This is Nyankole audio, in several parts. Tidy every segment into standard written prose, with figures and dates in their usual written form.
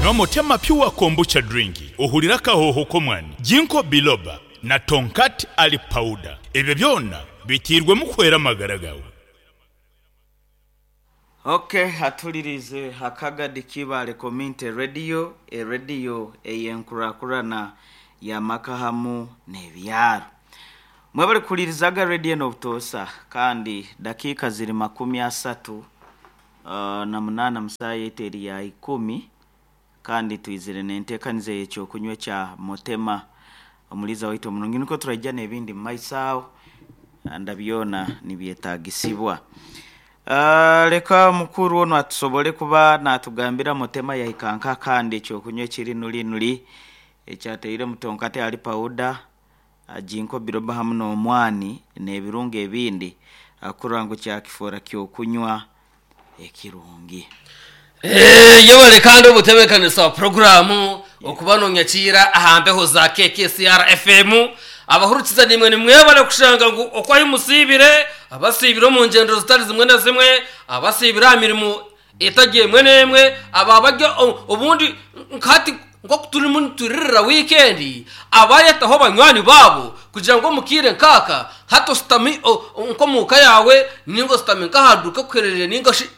Nywa Motema Pure Kombucha Drink ohurire akahooho k'omwani, Ginkgo Biloba na Tongkat Ali Powder. Ebyo byona biteirwemu kuhwera amagara gaawe. Ok atuliriize Akagadi Kibaale Community Radio, erediyo ey'enkurakurana y'amaka hamu n'ebyaro. Mwebale kuhulirizaga rediyo enu obutoosa kandi dakiika ziri 38 mu saaha yaitu eri ya ikumi kandi twizire n'enteekaniza ey'ekyokunywa ekya Motema omuliiza waitu omurungi nikwo turaija n'ebindi mu maiso aho nda byona nibyetaagisibwa. Leka omukuru onu atusobole kuba naatugambira Motema yahika nka kandi ekyokunywa ekiri nuri nuri ekyatairemu tonkate ali pawuda, ginkgo biloba hamu n'omwani n'ebirungo ebindi kurora ngu kyakifoora ky'okunywa ekirungi. Yebare kandi obutebeekanisa bwa puroguraamu okuba noonyakiira aha mbeho za KKCR FM. Abahurikiza naimwe nimwebare kushanga ngu oku ahi musiibire, abasiibire omu ngyendo zitari zimwe na zimwe, abasiibire aha mirimo etari emwe n'emwe, aba bari obundi nka hati nk'oku turimu nituririra wiikendi, abaayetaho banywani baabo kugira ngu omu kaire nk'aka hati oshutami nk'omu ka yaawe nainga oshutami nk'aha duuka ekuherereire nainga shi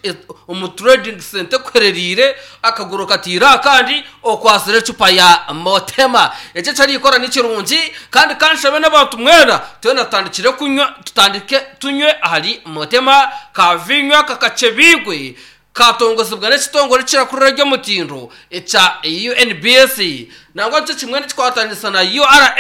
omu trading centre ekuherereire, akaguru okataire aha kandi okwatsire ecupa ya Motema. Eki eki arikukora ni kirungi kandi ka nshabe n'abantu mwena twena tutandikire kunywa tutandike tunywe ahari Motema ka viinyo aka kakyebiirwe Kaatongozibwa n'ekitongore ekirakurira eby'omutindo ekya UNBS nangwa nikyo kimwe nikikwatanisa na URA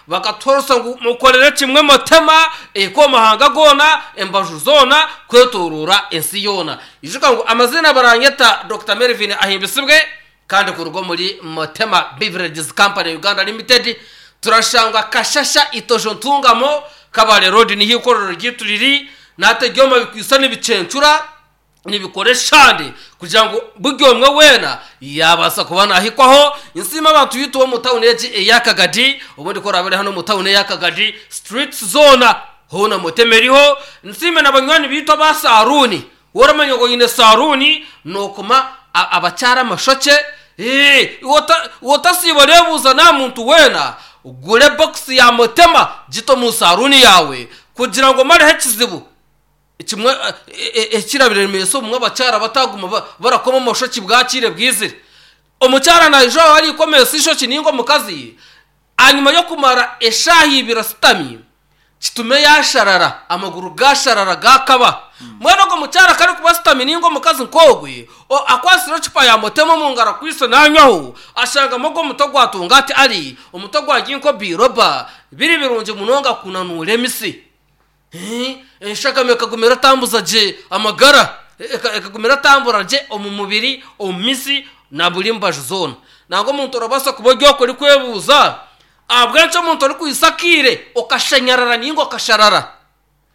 bakatuhoresa ngu mukorere kimwe motema ehike omu mahanga goona embaju zoona kwetoroora ensi yoona. Ijuka ngu amaziina baranyeta Dokita Melvin Ahimbisibwe kandi kuruga omuri Motema Beverages Company Uganda Limited turashangwa Kashasha Itojo Ntungamo Kabale Road niho eikorero ryaitu riri nahati ebyoma bikwaitse nibicencura nibikora eshande kugira ngu buri omwe weena yaabaasa kuba naahikwaho. Nsiima abantu baitu b'omu tawuni egi eya Kagadi, obundi ku oraabe ori hanu omu tawuni eya Kagadi, streets zoona hoona Motema eriho. Nsiime na banywani baitu aba saaruuni. Waaba oramanya ngu oine saaruuni, nookoma abakyara amashokye. Iwe otasiiba oreebuuza n'aha muntu weena, gura ebokisi ya Motema gite omu saaruuni yaawe kugira ngu omareho ekizibu. Kimwe ekirabiremesa obumwe abakyara bataguma barakoma amashoki bwakiire bwizire. Omukyara naija aho arikomesa eishoki ninga omukazi, ahanyima y'okumara eshaaha ibiri asutami, kitume yasharara, amaguru gasharara gakaba. Mbwenu ogwo mukyara ku arikuba asutami ninga omukazi nk'ogwe, akwatsire ecupa ya motema omu ngaro akwaitse nanywaho, ashangamu ogwo omuti ogwatunga ati ari omuti ogwa ginkgo biloba, biri birungi munonga kunanuura emisi. Enshagama ekaguma eratambuza gye amagara, ekaguma eratambura gye omu mubiri, omu mitsi na buri mbaju zoona. Nangwa omuntu orabaasa kuba ori okwo orikwebuuza, ahabw'enki omuntu orikwitsa akaire okashanyarara nainga okasharara,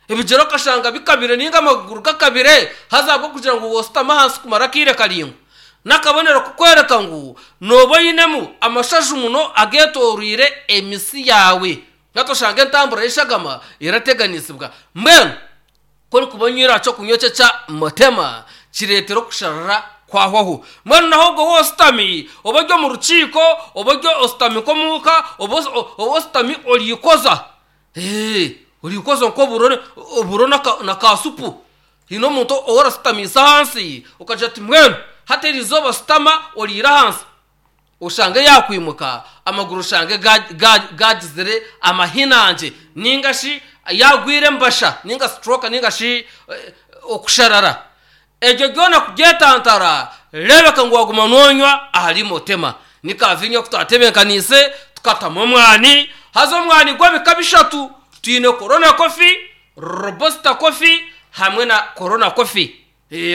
ebigyere okashanga bikabire nainga amaguru gakabire haza ahabw'okugira ngu waashutama ahansi kumara akaire karaingwa. N'akabonero k'okworeka ngu nooba oinemu amashaju muno ageetooroire emitsi yaawe. Hati oshanga entambura y'eshagama erateganisibwa. Mbwenu ku orikuba onywire aha ky'okunywa eki ekya Motema, kireetera okusharara kwahwaho. Mbwenu naho obwo waaba oshutami, oba ori omu rukiiko, oba ori oshutami nk'omuka, oba oshutami orikoza, orikoza nk'oburo oburo na ka supu. Haine omuntu ou orashutamiise ahansi okagira oti mbwenu hati eri izooba shutama oriire ahansi. Oshange yaakwimuka, amaguru oshange gaagizire amahinangye, nainga shi yaagwire embasha nainga stroke nainga shi okusharara. Ebyo byona kubyetantara, reebeka ngu waaguma noonywa ahari Motema. Ni kaaviinyo aku twatebeekaniise tukatamu omwani, haza omwani gw'ebika bishatu, twine Corona Coffee, Robusta Coffee hamwe na Corona Coffee.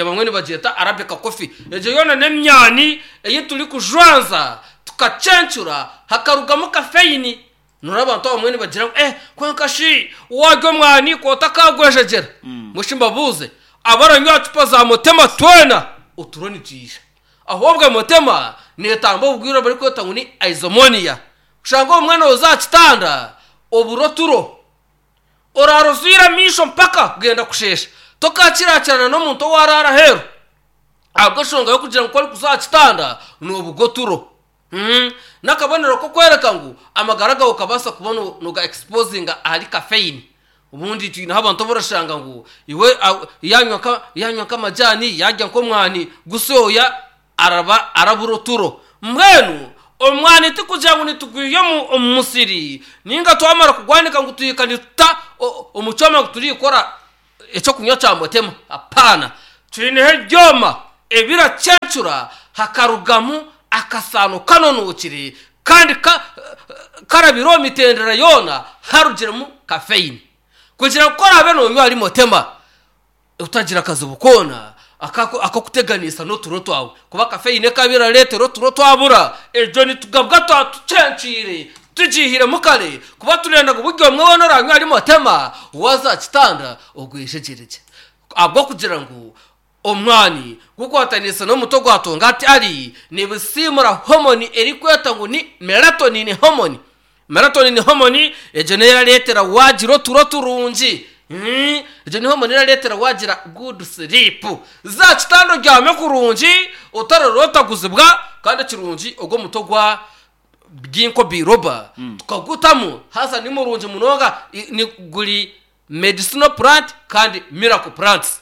Abamwe nibagyeta Arabica coffee. Egyo yoona n'emyani ei turikujwanza tukacencura hakarugamu kafeyini. Noreeba abantu abamwe nibagira ngu eh kwonka shi waarya omwani ku otakagwejegyera. Mbwenu shi mbabuuze, abaranywa aha cupa za Motema twena oturo nitwija? Ahobwe Motema neetamba oburwaire oburikwetwa ngu ni Isomonia. Kushanga obumwe nooza aha kitanda obura oturo. Oraara ozwire amaisho mpaka kugenda kusheesha. Tokaakiraakirana n'omuntu owaaraara aheeru. Ahabw'enshonga y'okugira ngu ku orikuza aha kitanda noobuga oturo. N'akabonero k'okworeka ngu amagara gaawe okabaasa kuba nooga exposinga ahari caffeine. Obundi twineho abantu abu orashanga ngu iwe yaanywa yaanywa nk'amajaani, yaarya nk'omwani gusyoya araba arabura oturo. Mbwenu omwani tikugira ngu nitugwiha omu musiri nainga twamara kugwanika ngu tuhika nituta omu kyoma ngu turikora eky'okunywa kya mutema. Apaana! Twineho ebyoma ebiracencura hakarugamu akasaano kanonookire kandi karabire omu mitendera yoona harugiremu kafeyini. Kugira ngu ku oraabe noonywa ahari mutema otagira akazibu koona ak'okuteganisa n'oturo twawe. Kuba kafeyini ekaba erareetera oturo twabura, egyo nitugabwa twatucencwire Tugiihiremu kare kuba turenda ngu buri omwe weena oraanywa ahari Mutema waaza aha kitanda ogwejegyeregye. Ahabw'okugira ngu omwani gukwataniise n'omutwe gwa tongati ari nibisiimura homoni erikwetwa ngu ni melatonin hormone. Melatonin hormone egyo niyo erareetera waagira oturo turungi. Egyo ni homoni erareetera waagira good sleep. Za aha kitanda obyame kurungi otararotaguzibwa kandi ekirungi ogwo omutwe gwa Ginkgo biloba tukagutamu haza ni murungi munonga ni guri medicinal plant kandi miracle plants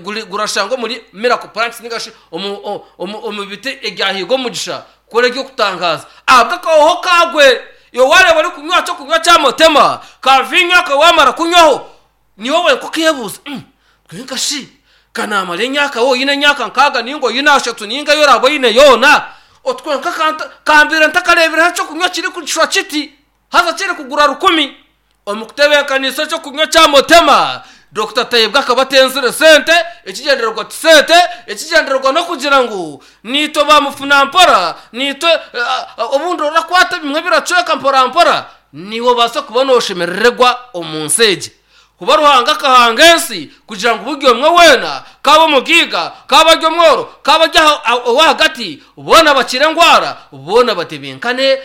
guri gurashangwa omuri miracle plants ninga shi omu omu omu biti ebyahiga omugisha kukora eby'okutangaaza ahabw'akahoho kagwe iwe wareeba orikunywa aha ky'okunywa kya mutema ka viinyo aka wamara kunywaho Niiwe wenka okeebuuza, Kwonka shi, ka naamara emyaka waaba oine emyaka nkaaga nainga oine ashatu nainga ei oraabe oine yoona, oti kwonka ka mbaire ntakareebireho eky'okunywa kirikushusha kiti, haza kirikugura rukumi? Omu kutebeekanisa eky'okunywa kya Mutema, Dokita Tayebwa akaba atenzire sente, ekigyendererwa ti sente, ekigyendererwa n'okugira ngu naitwe bamufunampora, naitwe obundi orakwata ebimwe biracweka mporampora, Naiwe obaase kuba nooshemerererwa omu nsi egi. Kuba Ruhanga akahanga ensi kugira ngu buri omwe weena, kaabe omugaiga, kaabe ari omworo, kaabe ari ow'ahagati, boona bakire endwara, boona batebenkane,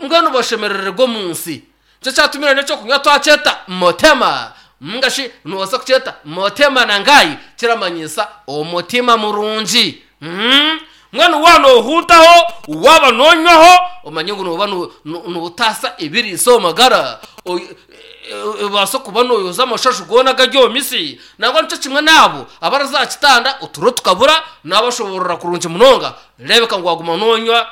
mbwenu bashemerererwe omu nsi. Nikyo kyatumire n'eky'okunywa twakyeta Motema, ninga shi noobaasa kukyeta Motema na Ngai, kiramanyiisa omutima murungi. Mbwenu waaba noohuntaho, waaba noonywaho, omanye ngu nooba nootaasa ebiriisa omu magara, obaase kuba nooyoza amashaju goona agari omu mitsi. Nangwa nikyo kimwe n'abo abaraza aha kitanda oturo tukabura, naabashoboorora kurungi munonga, reebeka ngu waaguma noonywa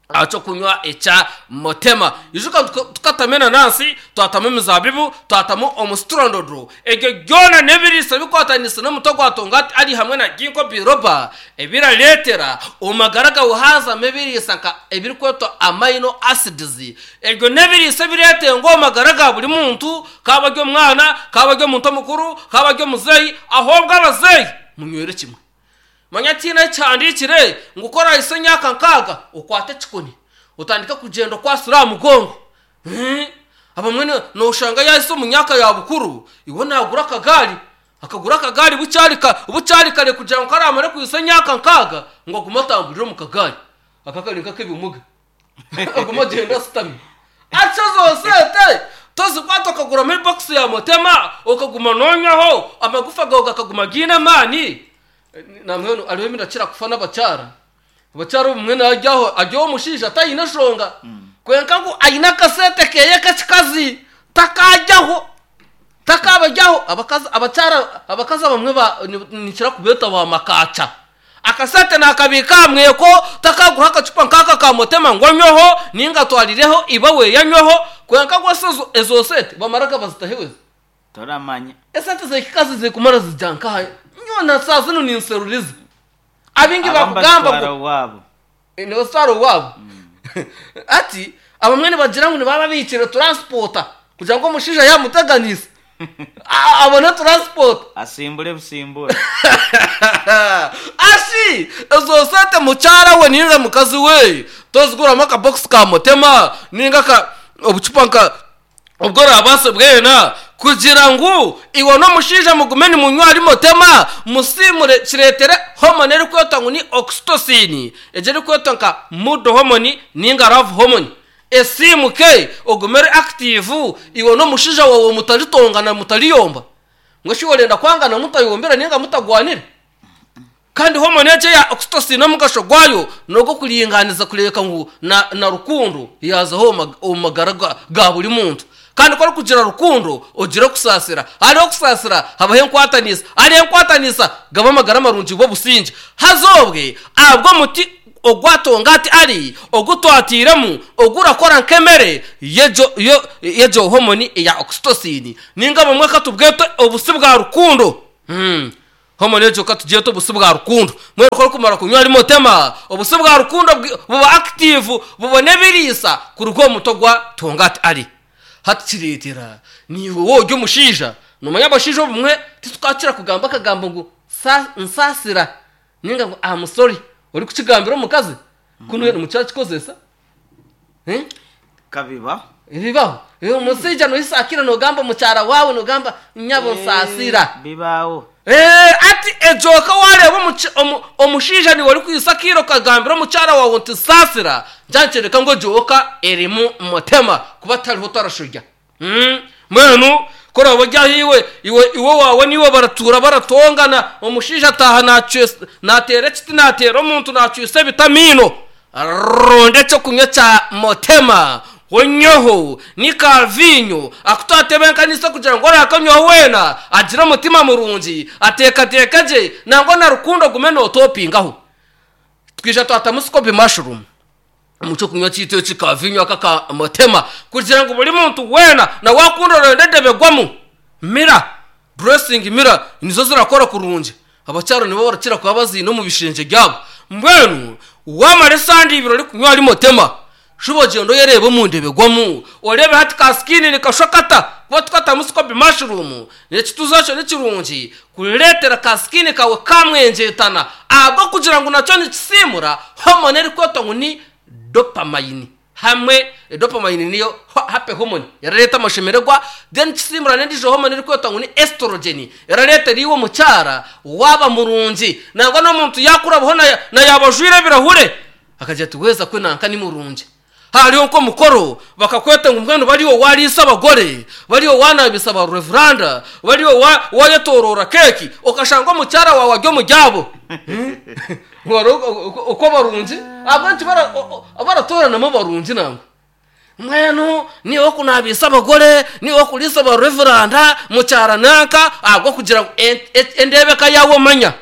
aha ky'okunywa ekya Motema. Ijuka ngu tukatamu enanansi, twatamu emizaabibu, twatamu omusiturondodo. Ebyo byona n'ebiriisa bikwataniise n'omutwe gwa tongati ari hamwe na ginkgo biloba ebirareetera omu magara gaawe haazamu ebiriisa nka ebirikwetwa amino acids. Ebyo n'ebiriisa ebireetengwa omu magara ga buri muntu, kaaba ari omwana, kaaba ari omuntu omukuru, kaaba ari omuzeeyi, ahobwe abazeeyi munywere kimwe. Manya tihaine ahu kihandiikire ngu ku oraahitsye emyaka nkaaga okwate ekikoni otandike kugyenda okwatsire aha mugongo. Abamwe nooshanga yaahitsya omu myaka ya bukuru, iwe naagura akagaari, akagura akagaari bukyari kare kugira ngu ku araamare kuhitsya emyaka nkaaga ngu agume atamburire omu kagaari. Aka kari nk'ak'ebimuga. Agume agyende ashutami. Atyo ezo sente tozikwata okaguramu ebokisi ya mutema okaguma noonywaho, amagufa gaawe gakaguma gaine amaani. Nambwenu hariho ebi ndakira kufa n'abakyara. Abakyara obumwe naarya aho ari omushaija taine nshonga kwonka ngu aine akasente keeye k'ekikazi takaaryaho, takabaryaho. Abakazi abakyara abakazi abamwe nikira kubeeta ba makaakya. Akasente naakabiika aha mweko, takaagura akacupa nk'aka ka Mutema ngu anyweho, nainga atwarireho iba we anyweho, kwonka gwe ezo sente bamaraga bazitahe we. Toramanya. Esente z'ekikazi zirikumara zija nkaha? Nyowe na saaha zinu ninseruriza. Abaingi Abamu bakugamba bazitwara ngu owaabo. nibazitwara owaabo. Hati abamwe nibagira ngu nibaba babiikire turansipoota kugira ngu omushaija yaamuteganisa abone turansipoota. Asimbure busimbure. Ashi ezo sente mukyara we ninga mukazi we toziguramu akabokisi ka mutema ninga aka obucupa nka Obwo oraabaase bwena kugira ngu iwe n'omushaija mugume nimunywa ahari mutema, musiimure kireetere hormone erikwetwa ngu ni oxytocin, egyo erikwetwa nka mood hormone ninga love hormone esiimuke ogume ori active iwe n'omushaija waawe mutaritongana mutariyomba. Mbwenu shi orenda kwangana mutayombire ninga mutagwanire? Kandi hormone egyo eya oxytocin omugasho gwayo n'ogw'okuringaaniza kureebeka ngu na na rukundo yaazaho omu magara ga buri muntu. Kandi ku orikugira rukundo ogira okusaasira, hariho okusaasira habaho enkwatanisa, hariho enkwatanisa gaba amagara marungi buba obusingye. Haza obwe ahabw'omuti ogwa Tongati Ali ogu twatairemu ogurakora nk'emere y'egyo y'egyo hormone eya oxytocin ninga bumwe katubwete obusi bwa rukundo. Hormone egyo ka tugyete obusi bwa rukundo. Mbwenu ku orikumara kunywa rimotema, obusi bwa rukundo buba active bubona ebiriisa kuruga omu mutwe gwa Tongati Ali. Hati kireetera naiwe waaba ori omushaija, noomanya abashaija obumwe titukakira kugamba akagambo ngu nsaasira ninga ngu am sorry orikukigambira omukazi kunu nimukira kukikozesa. Kabibaho. Bibaho. Omushaija noyisakira nogamba omukyara waawe nogamba nyabo nsaasira. Bibaho. Hati egyo ka wareeba omushaija niiwe orikwisakira okagambira omukyara waawe nti nsaasira, nikyo ngu egyo ka erimu mutema kuba tihariho otarashorya. Mbwenu ku oraabe ori aho iwe, iwe iwe owaawe naiwe baratuura baratongana, omushaija ataaha naacwesa naateera ekiti naateera omuntu naacwisa ebiti amaino, ronda eky'okunywa kya mutema onyweho ni ka viinyo aku twatebeekanisa kugira ngu oraakanywaho weena agire omutima murungi, ateekateeke gye nangwa na rukundo ogume nootopingaho. Twija twatamu sikopi mushroom. Omu ky'okunywa kyaitu eki ka viinyo aka ka mutema, kugira ngu buri muntu weena na waakunda orenda endebegwamu, mira, dressing mira nizo zirakora kurungi. Abakyara nibo barakira kuba baziine omu bishengye byabo. Mbwenu waamara esande ibiri orikunywa ahari mutema, shuba ogyende oyereebe omu ndebegwamu, oreebe hati ka skin nikashusha kata, kuba tukatamu scoby mushroom, Ekituuzo ekyo ni kirungi kureetera ka skin kaawe kaamwengyeetana ahabw'okugira ngu nakyo nikisiimura hormone erikwetwa ngu ni dopamine hamwe dopamine niyo happy hormone erareeta amashemererwa then kisiimura n'endiijo hormone erikwetwa ngu ni estrogen erareetera iwe omukyara waaba murungi nangwa n'omuntu yaakurabaho na yaaba ajwaire ebirahure akagira ati weeza kwe nanka ni murungi. Hariho nk'omukoro bakakweta ngu mbwenu bari owariisa abagore, bari owanabisa ba revuranda, bari owayetoroora keeki, okashanga omukyara waawe ari omuri abo. Okwo barungi, ahabw'enki baratooranamu abarungi nangwa? Mbwenu niiwe ow'okunaabisa abagore, niiwe ow'okuriisa ba revuranda, mukyara nanka, ahabw'okugira ngu endeebeka yaawe omanya.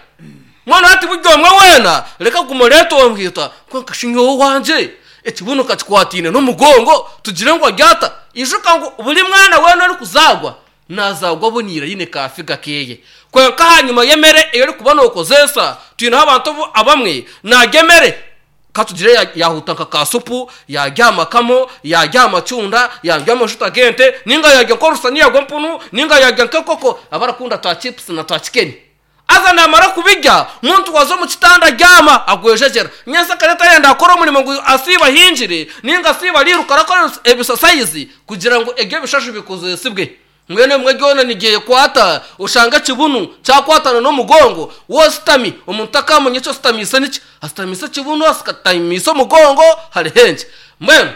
Mbwenu hati buri omwe weena reka kuguma oreetongoita, kwonka shi nyowe owangye ekibunu kakikwataine n'omugongo tugire ngu ari ata? Ijuka ngu buri mwana weena orikuzaarwa naazaarwa aboneire aine ka figa keeye. Kwonka ahanyima y'emere ei orikuba nookozeesa, twineho abantu abamwe naarya emere ka tugire yaahuta nka ka supu, yaarya aha makamo, yaarya aha macunda, yaarya amajuta g'ente, nainga yaarya nk'orusaniya rw'empunu, nainga yaarya nk'enkoko, abarakunda twa chipusi na twa kikeni. Haza naamara kubirya, muntu waza omu kitanda abyama, agwejegyera. Nyentsya kare tayenda kukora omurimo ngu asiibe ahingire, nainga asiibe ariiruka arakora ebisasayizi kugira ngu ebyo ebishaju bikozesibwe. Mbwenu ebimwe byona nibyekwata, oshanga ekibunu kyakwatana n'omugongo, waaba ositami, omuntu takaamanya eki ositamiise niki. Asitamiise ekibunu, asitamiise omugongo, hariho enki. Mbwenu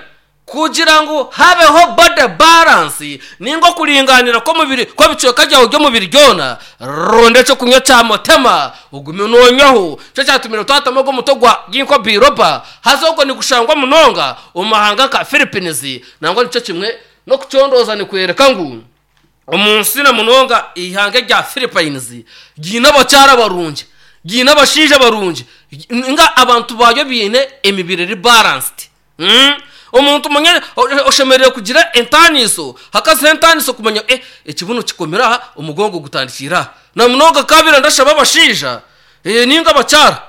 Kugira ngu habeho body balance ninga okuringaanira kw'omubiri kw'ebicweka byawe by'omubiri byona, ronda eky'okunywa kya mutema ogume noonywaho. Nikyo kyatumire twatamu ogu omuti ogwa Ginkgo biloba haza ogwo nigushangwa munonga omu mahanga nka Philippines. Nangwa nikyo kimwe n'okucondooza nikworeka ngu Omu nsi na munonga eihanga erya Philippines ryine abakyara barungi, ryine abashaija barungi ninga abantu baayo baine emibiri eri balanced. Omuntu manya oshemereire kugira entaaniso, hakazaho entaaniso kumanya ngu ekibunu kikomire aha, omugongo gutandikiire aha. Na munonga nkabaire ndashaba abashaija ninga abakyara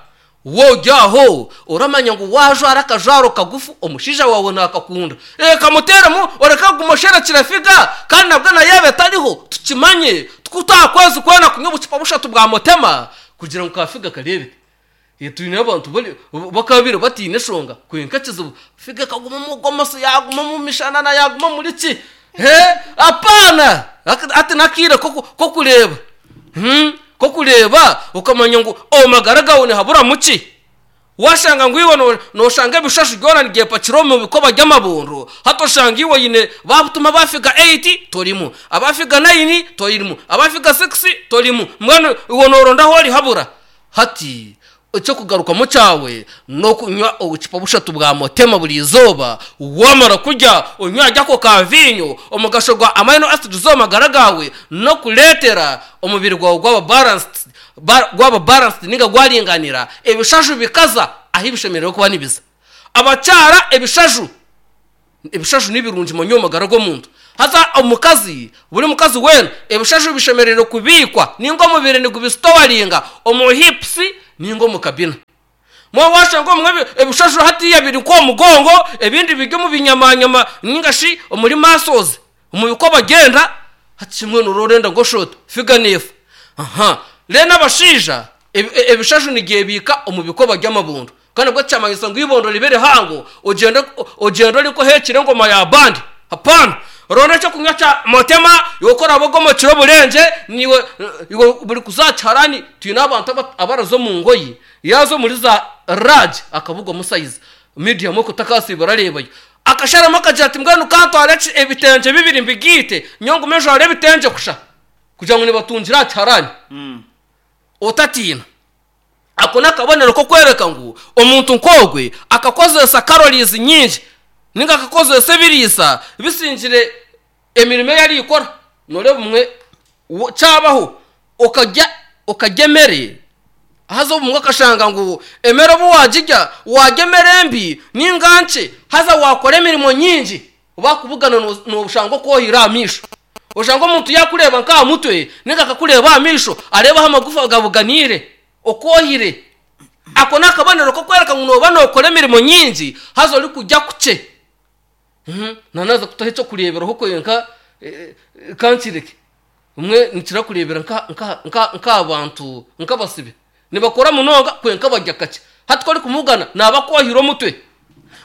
Waaba ori aho, oramanya ngu waajwara akajwaro kagufu omushaija waawe naakakunda. Kamuteeremu oreke kuguma osherekire figa kandi nabwo na yaaba etariho tukimanye ku aha kwezi kwona kunywa obucupa bushatu bwa mutema kugira ngu ka figa kareebeke. Twine abantu bakaabaire bataine nshonga kwonka ekizibu figa ekaguma omu gomesi yaaguma omu mishanana yaaguma omuri ki. Apaana! Hati n'akaire k'okureeba. K'okureeba okamanya ngu omu magara gaawe nihaburamu ki. Waashanga ngu iwe nooshanga ebishashu byona nibyepakira omu bikoba by'amabondo, hati oshanga iwe oine baakutuma aba figa eyiti torimu, aba figa nayini torimu, aba figa sikisi torimu, mbwenu iwe nooronda ahu orihabura. Hati. Eky'okugarukamu kyawe n'okunywa obucupa bushatu bwa Motema buri izooba. Waamara kurya, onywe ahari ako ka viinyo. Omugasho gwa amino acids omu magara gaawe n'okureetera omubiri gwawe gwaba balanced, gwaba balanced nainga gwaringanira, ebishaju bikaza ahu bishemereire kuba nibiza. Abakyara ebishaju. Ebishaju ni birungi manya omu magara g'omuntu. Haza omukazi, buri mukazi weena, ebishaju bishemereire kubiikwa ninga omubiri nigubisitowaringa omu hips ninga omu kabina. Mbwenu washanga obumwe ebishaju hatiiya biri nk'omu mugongo, ebindi biri omu binyamanyama ninga shi omuri muscles, omu bikoba by'enda, hati shi mbwenu oraba orenda ngu oshushe ota? Figa neefa. Aha. Reero abashaija, ebishaju nibyebiika omu bikoba by'amabondo. Kandi nabwo tikyamanyisa ngu eibondo ribe rihango ogyende ogyende ori nk'oheekire engoma ya bandi. Hapaana. Ronda eky'okunywa kya Motema, iwe ku oraabe ogomokire oburengye, naiwe iwe buri kuza aha kiharani, twine abantu abaraza omu ngoye, yaaza omuri za large akabugwamu sayizi, medium okwo takaasiiba arareebayo. Akasharamu akagira ati mbwenu ka ntware ebitengye bibiri mbigaite, nyowe ngume njware ebitengye kusha kugira ngu nibatungira aha kiharani. Otatiina. Ako n'akabonero k'okworeka ngu omuntu nk'ogwe akakozesa calories nyingi ninga akakozesa ebiriisa bisingire emirimo ei arikukora. Nooreeba obumwe kyabaho okarya okarya emere haza obumwe okashanga ngu emere obu waagirya waarya emere mbi ninga nkye haza waakora emirimo nyingi Baakubugana nooshanga okwohire aha maisho. Oshanga omuntu yaakureeba nk'aha mutwe nainga akakureeba aha maisho areeba ahu amagufa gabuganiire, okwohire. Ako n'akabonero k'okworeka ngu nooba nookora emirimo nyingi haza orikurya kukye. Naanaaza kutaho eky'okureeberaho kwenka ka nkireke. Obumwe nikira kureebera nk'aha bantu nk'abasibe. Nibakora munonga kwonka barya kakye. Hati ku orikumugana naaba akwohire omutwe.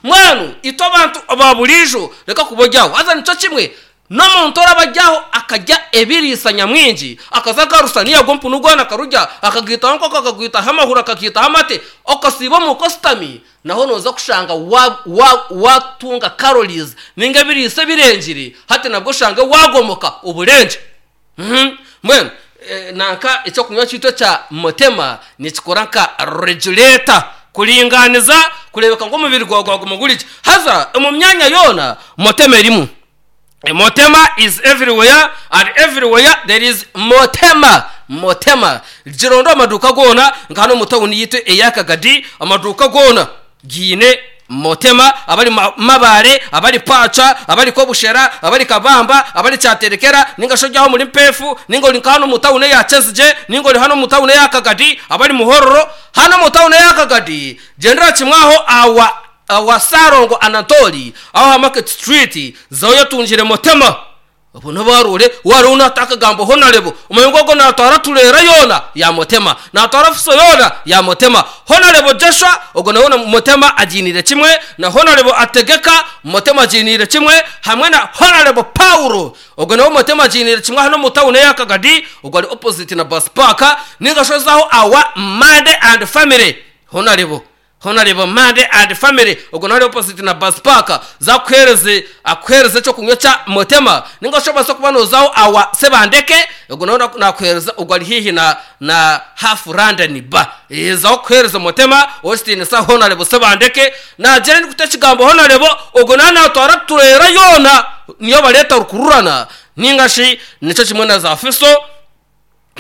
Mbwenu itwe abantu aba buriijo reka kuba ori aho. Haza nikyo kimwe n'omuntu oraba ari aho akarya ebiriisa nyamwingi, akaza nka rusaniya gw'empunu gwona akarurya, akagaitaho enkoko, akagaitaho amahuri, akagaitaho amate, okasiiba omuka oshutami, naho nooza kushanga waatunga calories ninga ebiriisa ebirengire, hati nabwo oshange waagomoka oburengye. Mbwenu nanka ekyokunywa kyaitu ekya Motema nikikora nka regulator kuringaaniza kureebeka ngu omubiri gwawe gwaguma guri gye. Haza omu myanya yoona Motema erimu. Motema is everywhere and everywhere there is Motema. Motema. Gironde omu maduuka goona nka hanu omu tawuni yaitu eya Kagadi amaduuka goona Giine Motema, abari Mabaare, abari Paaca, abari Kobushera, abari Kabamba, abari Kyaterekera, ninga shi ori aho omuri Mpeefu, ninga ori nka hanu omu tawuni eya Kyezigye, ninga ori hanu omu tawuni eya Kagadi, abari Muhororo. Hanu omu tawuni eya Kagadi, gyendera kimwe aho awa awa Ssalongo Anatoli, aho aha Market Street, zaho oyetungire Motema. Obwo n'obu aroore waariho naata akagambo honarebo, omanye ngu ogwo naatwara tureera yoona yaamutema, naatwara fuso yoona yaamutema. Honarebo Joshua ogwo nawe Mutema agiiniire kimwe, na Honarebo Ategeka Mutema agiiniire kimwe, hamwe na Honarebo Paulo ogwo nawe Mutema agiiniire kimwe hanu omu tawuni eya Kagadi, ogwo ari opposite na bus park, ninga shi oze aho awa Mande and Family Honarebo. Honarebo Mande and family ogwo nawe ari opposite na bus park za akuhereze akuhereze ekyokunywa kya Motema ninga shi obaase kuba nozaho awa Sebandeke ogwo nawe nakuhereza ogwo ari haihi na na half London bar eeh zaho akuhereze Motema owekitiinisa Honarebo Sebandeke nagira ndikuta ekigambo Honarebo ogwo nawe natwara tureera yoona niyo bareeta rukururana ninga shi nikyo kimwe na za Fiso.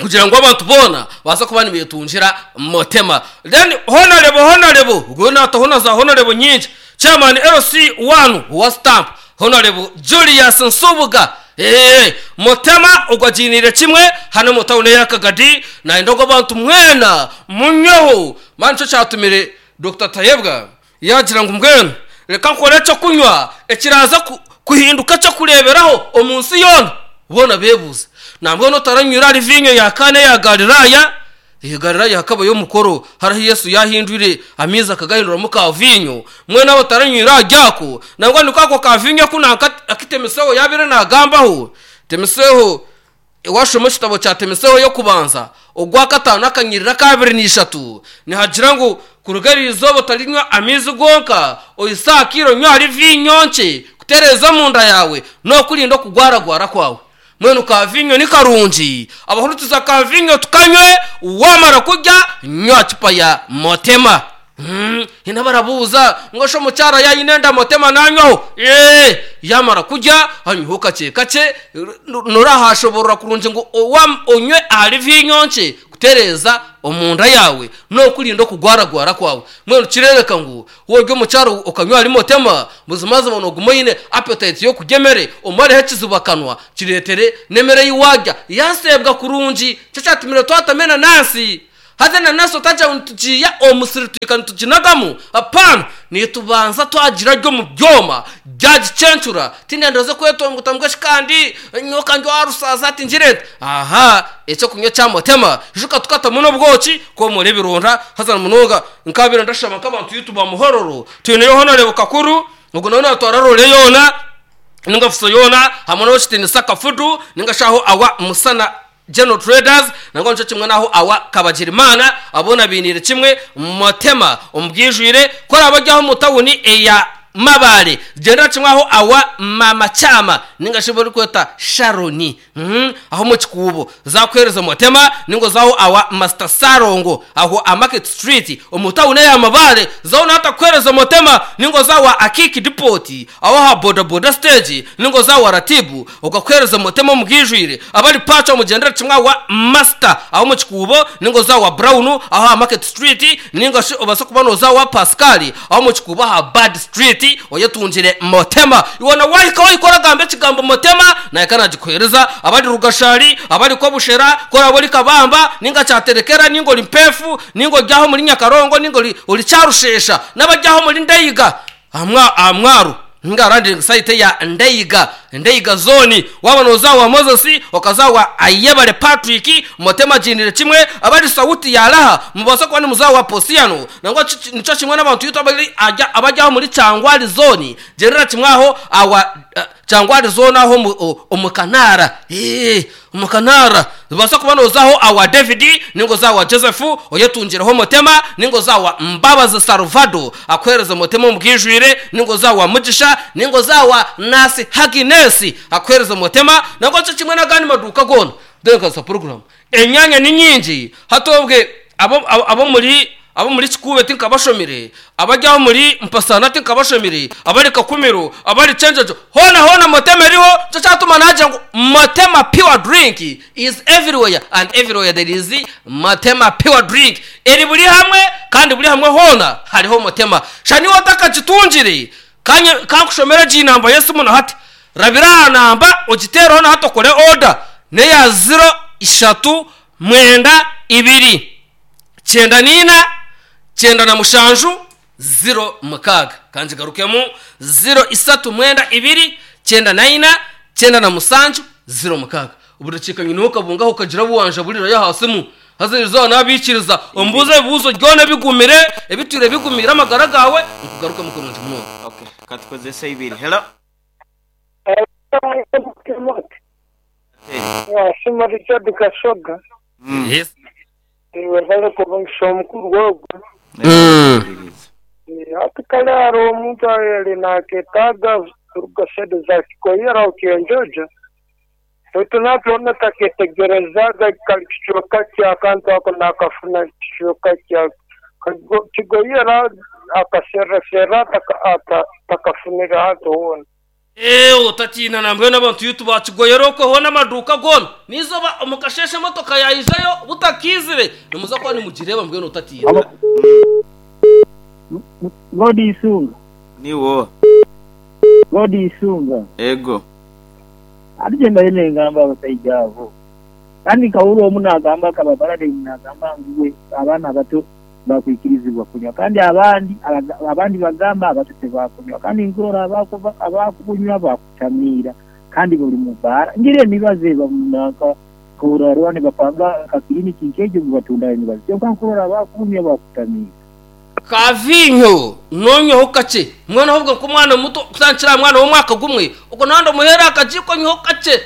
Kugira ngu abantu boona baase kuba nibeetungira Motema. Then Honarebo Honarebo ogwo naataho na za Honarebo nyingi. Chairman LC one owa stamp Honarebo Julius Nsubuga eeh Motema ogwo agiiniire kimwe hanu omu tawuni eya Kagadi nayenda ngu abantu mwena munyweho. Mani nikyo kyatumire Dokita Tayebwa yaagira ngu mbwenu reka nkore eky'okunywa ekiraaze kuhinduka eky'okureeberaho omu nsi yoona. Boona beebuuza, Nambwenu otaranywire ahari viinyo ya Kaana eya Galilaaya? Ee, Galilaaya hakabayo omukoro hariho ahu Yesu yaahindwire amaizi akagahinduramu kaaviinyo. Mbwenu abo otaranywire ahari ako, nangwa niko ako kaaviinyo aku nanka aku Timoseeho yaabaire naagambaho. Timoseeho Waashoma ekitabo kya Timotheo y'Okubanza, ogwakataano akanyiriri akaabiri na ishatu, nihagira ngu, Kuruga eri izooba otarinywa amaizi gonka, ohitsye aha kaire onywe ahari viinyo nkye kutereeza omunda yaawe n'okurinda okugwaragwara kwawe. Mbwenu ka viinyo ni karungi. Abahurikiza ka viinyo tukanywe, waamara kurya nywa cupa ya Motema. Haine abarabuuza ngu shi omukyara yaaba aine enda Motema nanywaho? Eeh! Yaamara kurya anyweho kakye kakye, noraahashoboorora kurungi ngu onywe ahari viinyo nkye kutereeza omunda yaawe n'okurinda okugwaragwara kwawe. Mbwenu kireebeka ngu Waaba ori omukyaro okanywa ahari Motema, buzimazima nooguma oine appetite y'okurya emere, omareho ekizibu akanwa, kireetere n'emere ei waarya yaaseebwa kurungi. Nikyo kyatumire twatamu enanansi. Haza enanansi otagira ngu nitugiiha omu musiri tuhika nituginagamu, hapana, nitubanza twagirarya omu byoma byagicencura. Tindenda kwetongoita ngu eshi kandi nyowe ka ndi owa Rusasa hati ngire nta? Aha, eky'okunywa ekya Motema, ijuka tukatamu n'obwoki kwomora ebironda haza na munonga Nkabaire ndashaba nk'abantu baitu ba Muhororo, twineyo Honourable Kakuru, ogu nawe natwara role yoona ninga fuso yoona hamwe n'owekitiinisa Kafudu ninga shi aho awa Musana General Traders nangwa nikyo kimwe n'aho awa Kabagirimana abo boona bainiire kimwe Motema omu bwijwire. Ku oraabe ori aho omu tawuni eya Mabale gyendera kimwe aho awa Maama Kyama ninga shi barikweta Sharon. Aho omu kikuubo zakuheereza Motema ninga oze aho awa Master Ssalongo aho aha Market Street omu tawuni eya Mabaale zaho naho atakuheereza Motema ninga oze awa Akiiki Depot aho aha boda boda stage ninga oze awa Ratibu okakuheereza Motema omu bwijwire abari Pacho mugyendere kimwe awa Master aho omu kikuubo ninga oze awa Brown aho aha Market Street ninga shi obaase kuba nooza awa Pascal aho omu kikuubo aha Bad Street oyetungire Motema. Iwe na waahika wahika oragamba ekigambo Motema, naahika naagikuheereza. Abari Rugashari, abari Kobushera, ku oraabe ori Kabamba, nainga Kyaterekera, nainga ori Mpeefu, nainga ori aho omuri Nyakarongo, nainga ori Kyarusheesha, n'abari aho omuri Ndeiga, aha mwaro, nainga aha landing site eya Ndeiga, Ndeiga zooni. Waaba nooza awa Moses, okaza awa Ayebare Patrick, Motema agiiniire kimwe, abari Sauti ya Raha, mubaasa kuba nimuza awa Posiano, Nangwa nikyo kimwe n'abantu baitu abari aho omuri Kyangwali zooni, gyendera kimwe aho awa Kyangwali zooni aho omu Kanaara, omu Kanaara. Nobaasa kuba nooza aho awa David ninga oze awa Joseph oyetungireho Omutema, ninga oze awa Mbabazi Salvado akuheereze Omutema omu bwijwire, ninga oze awa Mugisha, ninga oze awa Nurse Haginesi akuheereze Omutema, nangwa nikyo kimwe n'agandi maduuka goona. Ntebeekanisa puroguraamu. Enyanya ni nyingi hati obwe ab'omuri ab'omuri Kikuube tinkabashomire, abari aho omuri Mpasana tinkabashomire, abari Kakumiro, abari Kyenjojo, hoona hoona Motema eriho, nikyo kyatuma naagira ngu Motema pure drink is everywhere and everywhere there is Motema pure drink. Eri buri hamwe kandi buri hamwe hoona hariho Motema. Shana iwe otakagitungire, ka nkushomere egi namba y'esimu na hati. Rabira aha namba ogiteereho na hati okore oda n'eya ziro ishatu mwenda ibiri kyenda n'ina kyenda na mushanju ziro mukaaga. Ka ngigarukemu, ziro isatu mwenda ibiri kyenda na ina kyenda na mushanju ziro mukaaga. Obudakiika nyineho okabungaho okagira abu wanjaburirayo aha simu. Haza erizooba naabaikiriza ombuuze ebibuuzo byona ebigumire ebitwire bigumiire amagara gaawe nkugarukemu kurungi munonga. Okay, ka tukozese ibiri. Hello. Nasiima Richard Kasoga. Webale kuba omukuru ogwo. Hati kale hariho omuntu ayali naketaaga kuruga side za Kikoyera aho Kyenjojo baitu natwe taketegerezaga kali kicweka ki akantu ako nakafuna kicweka kya Kigoyera akaserraserra takafunire hantu hoona. Eeh otatiina nambwenu abantu baitu ba Kigoyera okwe hoona amaduuka goona n'eizooba omu kasheeshe emotoka yaijayo butakiizire nimuza kuba nimugireeba mbwenu otatiina. God Isunga. Niiwe oha? God Isunga. Ego. Ati kye mbaire nengamba abasaija abo. Kandi nkahurra omu nagamba akaba Paradigm nagamba ngu we abaana abato bakwikirizibwa kunywa kandi abandi abandi bagamba abato tibakunywa kandi nkurora abakunywa bakutamiira kandi bali mu bbaara. Ngira emibazi eba nanka nkurora nibapanga nka kiliniki nk'egyo ngu batundayo emibazi kyonka nkurora abakunywa bakutamiira. Ka viinyo noonywaho kakye mbwenu ahobwe nk'omwana muto kutandikira aha mwana w'omwaka gumwe ogwo nawe ndamuheera aha kagiiko nyweho kakye.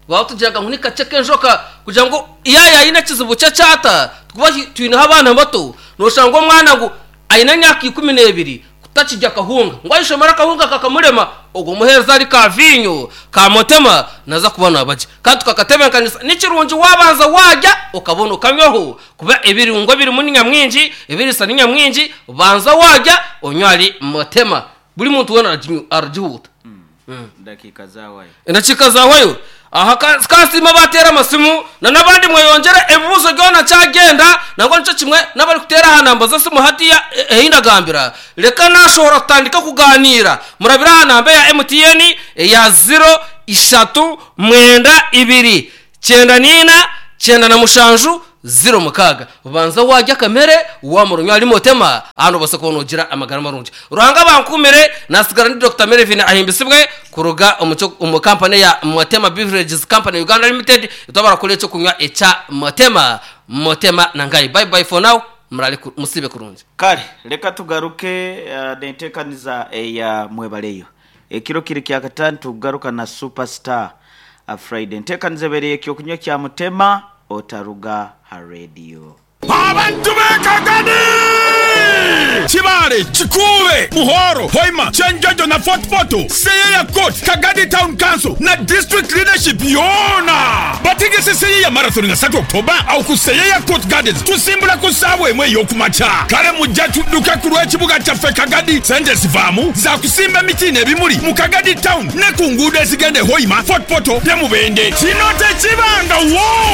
Twaba tugiraga ngu ni kakye k'enjoka kugira ngu yaaba aine ekizibu ky'ekyata kuba twineho abaana bato nooshanga omwana ngu aine emyaka ikumineebiri. Takirya kahunga. Ngu ayeshomere akahunga kakamurema, ogwo muheereza ari ka viinyo ka motema naza kuba naaba gye. Kandi tukakatebeekanisa, ni kirungi waabanza waarya okabona okanywaho kuba ebirungo ebirimu ni nyamwingi, ebiriisa ni nyamwingi, banza waarya onywe ahari motema. Buri muntu weena aragihuuta. Endakiika zaawayo. Endakiika zaawayo. Aha ka nsiime abaateera amasimu na n'abandi mweyongyere ebibuuzo byona kyagyenda nangwa nikyo kimwe n'abarikuteera aha namba z'esimu hatiiya ei ndagambira. Reka naashohora tutandike kugaaniira. Murabire aha namba eya MTN eya ziro ishatu mwenda ibiri 94 97 06. Banza waarya akamere, waamara onywe ahari Motema, aha noobaasa kuba noogira amagara marungi. Ruhanga abankuumire, naatsigara ndi Dokita Melvin Ahimbisibwe kuruga omu kampani eya Motema Beverages Company Uganda Limited, itwe abarakora eky'okunywa ekya Motema. Motema na ngai. Bye bye for now, muraare musiibe kurungi. Kare reka tugaruke n'enteekaniza eya Mwebaleyo. Ekiro kiri kyakataano tukugaruka na Super Star Friday. Enteekaniza ebaire ey'ekyokunywa kya Mutema otaruga ha rediyo. Abantu b'e Kagadi! Kibaale, Kikuube, Muhoro, Hoima, Kyenjojo na Fort Portal, Seyeya Court, Kagadi Town Council na District Leadership yoona bategese Seyeya Marathon nga satu October awo ku Seyeya Court Gardens tusimbula ku saawa emu ey'okumakya. Kale mujja tudduke ku lw'ekibuga kyaffe Kagadi. Sente ezivaamu za kusimba emiti n'ebimuli mu Kagadi Town ne ku nguudo ezigenda e Hoima, Fort Portal ne Mubende. Kino tekibangawo!